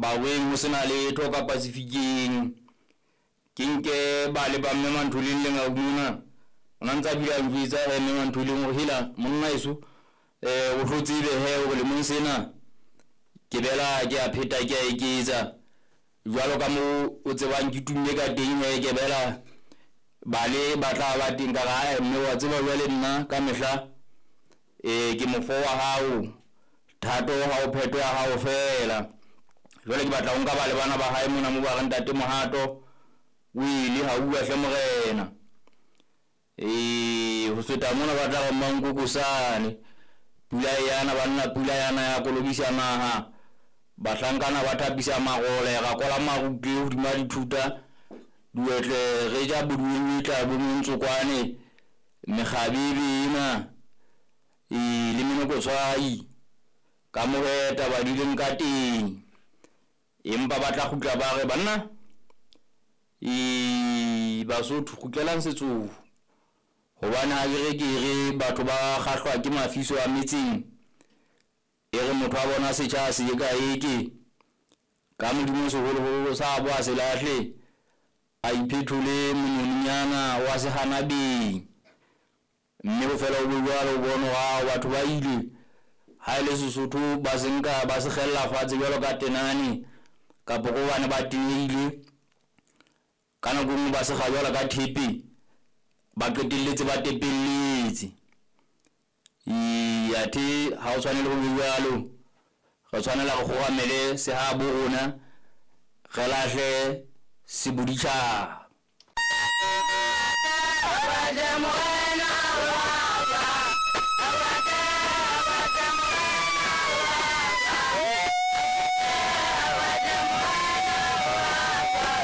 Barweng ho sena letho ka Pacificeng. Ke nke ba le ba mme Mantholeng le ngau mona. O na ntsa bile a njwetsa he mme Mantholeng hore hela monna eso o hlo tsebe he hore lemong sena ke bela ke a pheta ke a eketsa. Jwalo ka mo o tsebang ke tumme ka teng he ke bela bale ba tla ba teng ka re ae mme wa tseba jwale nna ka mehla ke mofo wa hao, thato ha o pheto ya hao feela. Jwale ke batla ho nka ba le bana ba hae mona mo ba re ntate Mohato o ile ha uwa hle morena. Ho feta mona ba tla re Mmankokosane. Pula e yana banna, pula yana ya kolobisa naha. Bahlankana ba thapisa marole, ra kola marutle hodima dithuta. Diwetle re ja boduweng bo montsokwane, mekgabebe ena le menokotshwai ka mohe taba di leng ka teng. Empa ba tla kgutla ba re banna Basotho kgutlelang setsong. Hobane ha ke re ke re batho ba kgahlwa ke mafiso a metseng, e re motho a bona setjha se ka eke ka Modimo seholoholo sa bo a se lahle, a iphethole mononyana wa sehanabeng. Mme ho fela ho be jwalo, o bone hore ao batho ba ile ha e le Sesotho ba se nka ba se kgella fatshe jwalo ka tenane, kapa ko hobane ba tenehile. Ka nako e nngwe ba se kga jwalo ka thepe, ba qetelletse ba tepelletse. Athe ha o tshwanele ho be jwalo, re tshwanela re kgoramele sehabo rona, re lahle seboditjhaba. Morena.